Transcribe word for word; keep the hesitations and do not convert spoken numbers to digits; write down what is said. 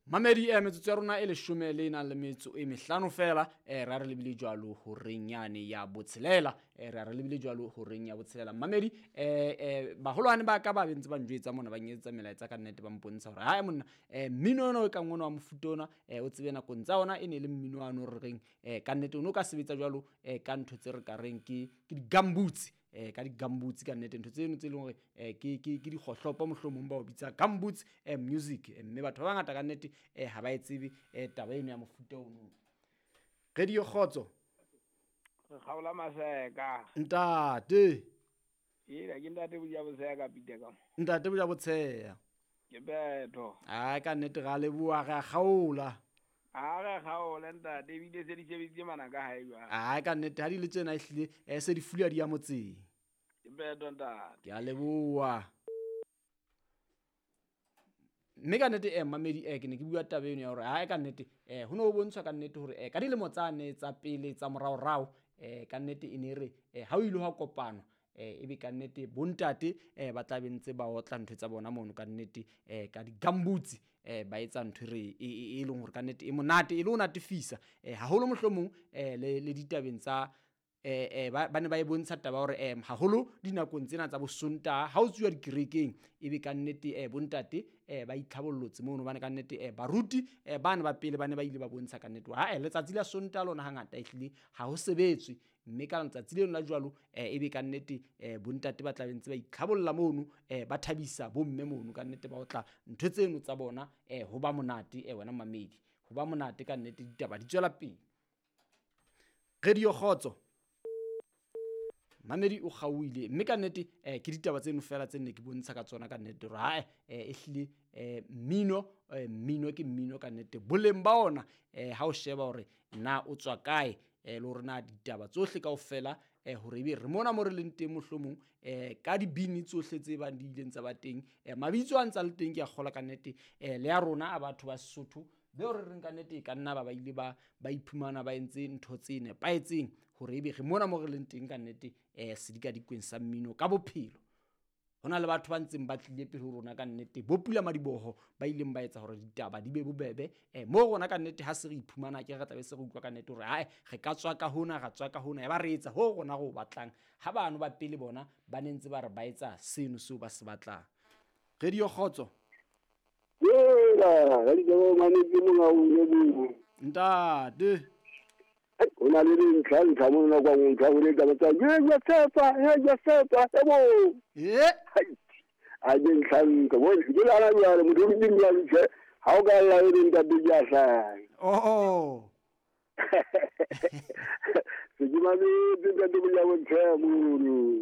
Mamedi eh metsotso ya rona e leshome le nang le metso e mehlano fela eh ra re lebile jwalo horeng yane ya botshelela eh ra re lebile jwalo horeng ya botshelela. Mamedi eh eh baholwane ba ka ba bentse ba njwetsa mona ba nyetsa melaetsa ka nnete ba mpontsha hore hae monna eh mmino ona o kang ona wa mofuta ona eh o tsebe nakong tsa ona e ne le mmino wa no re reng eh ka nnete o no ka sebetsa jwalo eh ka ntho tse re ka reng ke ke di-gumboots eh ka di-gumboots ka nnete ntho tseno tse leng hore eh ke ke ke dikgohlopo mohlomong ba o bitsa gumboots eh music mme batho ba bangata ka nnete eh ha ba e tsebe eh taba eno ya mofuta ono. Radio Kgotso. Re kgaola maseka. Ntate. Ela ke ntate Boja Botsheya ka Peter ka. Ntate Boja Botsheya. Ke betho. Ai ka nnete ra leboha re a kgaola. A re kgaola ntate ebile se di shebeditse mana ka hae jwale. Ai ka nnete ha di le tsena ehlile eh se di fula di ya motseng. Ke betho ntate. Ke a leboha. Mme ka nnete eh mamedi eh ke ne ke bua taba eno ya hore ha ka nnete eh ho no ho bontshwa ka nnete hore eh ka dilemo tsa ne tsa pele tsa moraorao eh ka nnete e ne re eh ha o ile ha kopano eh ebe ka nnete bontate eh ba tla bentse ba otla ntho tsa bona mono ka nnete eh ka di-gumboots eh ba etsa ntho re e leng hore ka nnete e monate e le ho natefisa eh haholo mohlomong eh le le ditabeng tsa eh eh ba ne ba e bontsha taba hore eh haholo dinakong tsena tsa bosontaha ha o tsuwa dikerekeng ebe ka nnete eh bontate eh ba itlhabollotse mono bane ka nnete eh baruti eh bana ba pele bane ba ile ba bontsha ka nnete ha eh letsatsi la Sontaha lona hangata ehlile ha ho sebetswe mme ka letsatsi leno la jwalo eh ebe ka nnete eh bontate ba tla bentse ba itlhabolla mono eh ba thabisa bomme mono ka nnete ba otla ntho tseno tsa bona eh ho ba monate eh wena mamedi ho ba monate ka nnete ditaba di tswela pele. Radio Kgotso. Mamedi o kgaohile mme ka nnete eh ke ditaba tseno fela tse nne ke bontsha ka tsona ka nnete hore ha eh ehlile eh mmino mmino ke mmino ka nnete boleng ba ona eh ha o sheba hore na o tswa kae eh le hore na ditaba tsohle kaofela eh hore ebe re mona mo re leng teng mohlomong eh ka dibini tsohle tse bang di ileng tsa ba teng eh mabitso a ntsa le teng ke a kgola ka nnete eh le ya rona a batho ba Sesotho beo re reng ka nnete e ka nna ba ba ile ba ba iphumana ba entse ntho tse nepahetseng hore ebe re mona mo re leng teng ka nnete eh sedikadikweng sa mmino ka bophelo. Ho na le batho ba ntseng ba tlile pele ho rona ka nnete bo pula madiboho ba ileng ba etsa hore ditaba di be bobebe eh mo rona ka nnete ha se re iphumana ke re tlabe se re utlwa ka nnete hore hae re ka tswa ka hona ra tswa ka hona ya ba re etsa ho rona re o batlang ha bano ba pele bona ba ne ntse ba re ba etsa seno seo ba se batlang. Radio Kgotso. Yela, re ke ngwane ke monga o ne bo. Ntate. O na le dintlha ntlha mo nna kwa ntlha go le taba tsa ye ya tshepa ye ya tshepa e bo. Eh. A ke ntlha nka bo ke la la ya mo di di ya ntse ha o ka la e ntate ya sa. Oh oh. Se ke ma le ntate ya bo ntlha mo.